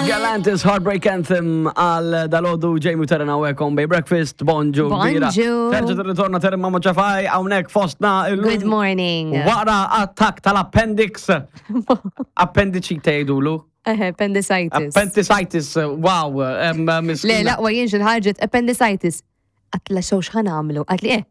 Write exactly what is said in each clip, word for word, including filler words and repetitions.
Galantis Heartbreak Anthem għal dalgħodu. Jamie Terena hawnhekk on Bay Breakfast, bonġu kbira. Bonġu. Terġa tirritorna Terena Mamo Ċafaj hawnhekk fostna illum. Good morning. Wara attak tal-appendix. Appendicite jgħidulu. Eh, appendicitis. Appendicitis, wow. em, Le, miskina. laqwa jien xil-ħarġet appendicitis. Għedtla xew x'ħa nagħmlu? Għedtli eh,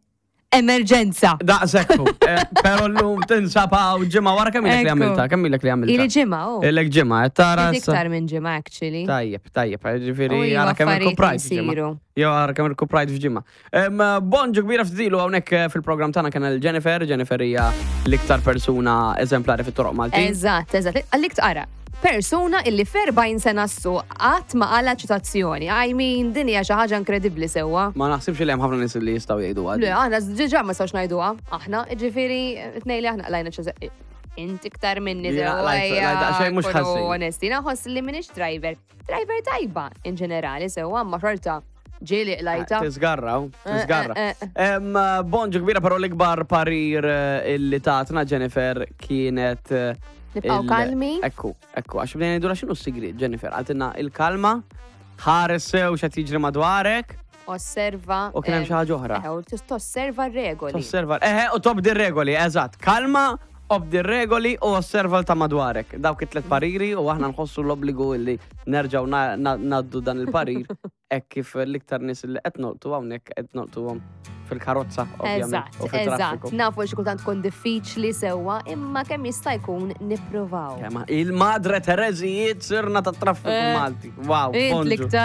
emerġenza. Daqsekku. Eh, Pero llum tinsab hawn ġimgħa wara. Kemm ilek li Ekku. għamilta? Kemm ilek li għamilta? Ili ġimgħa, oh. Ilek ġimgħa, qed tara. Ftit issa- iktar minn ġimgħa, actually. Tajjeb, tajjeb, ġifieri U iva, għara kemm affarijiet irkuprajt f'ġimgħa. isiru. Jew għara kemm irkuprajt f'ġimgħa. Em, Bonġu kbira. Ftit ilu hawnhekk eh, fil-programm tagħna kien il-Jennifer. Jennifer hija l-iktar persuna eżemplari fit-toroq Maltin. Eżatt, eżatt. Għallik tqara. Persuna illi f'erbgħin sena s-suq qatt ma qala ċitazzjoni. I mean, din hija xi ħaġa inkredibbli sewwa. Ma naħsibx li hemm ħafna nies li jistgħu jgħidu Le, għadi. aħna diġà ma sawx ngħiduha. Aħna, ġifieri, tnejn li aħna qlajna ċe Int iktar minni. Jiena sewa, qlajt- ejja, qlajt daqsxejn mhux nkunu ħażin. Onesti, naħoss li minix driver. Driver tajba, in ġenerali, sewwa, ma xorta ġieli qlajta. Tisgarra, u, tisgarra. Eh, eh, Em, Bonġu kbira, però l-ikbar parir eh, illi tatna Jennifer kienet eh, Nibqgħu il- kalmi. Ekku, ekku, għax bdejna ngħidu x'inhu s-sigriet, Jennifer. Qaltilna il-kalma, ħares sew x'qed jiġri madwarek, Osserva. u kien hemm em, xi ħaġa oħra. Eh, u tosserva r-regoli. Tosserva. Eħe, u tobdi regoli, eżatt. Kalma, obdi regoli u osserva ta' madwarek. Dawk it-tlet pariri u aħna nħossu l-obbligu illi nerġaw na- na- naddu dan il-parir hekk kif l-iktar nies li qed nolqtu hawnhekk qed nolqtuhom fil-karozza, ovvjament, Eżatt, u fil-traffiku. eżatt. Nafu xi kultant tkun diffiċli sewwa, imma kemm jista' jkun nippruvaw. Kemm il-Madre Terezijiet sirna ta' traffiku Eh, Malti. Wow, Int bonġu. l-iktar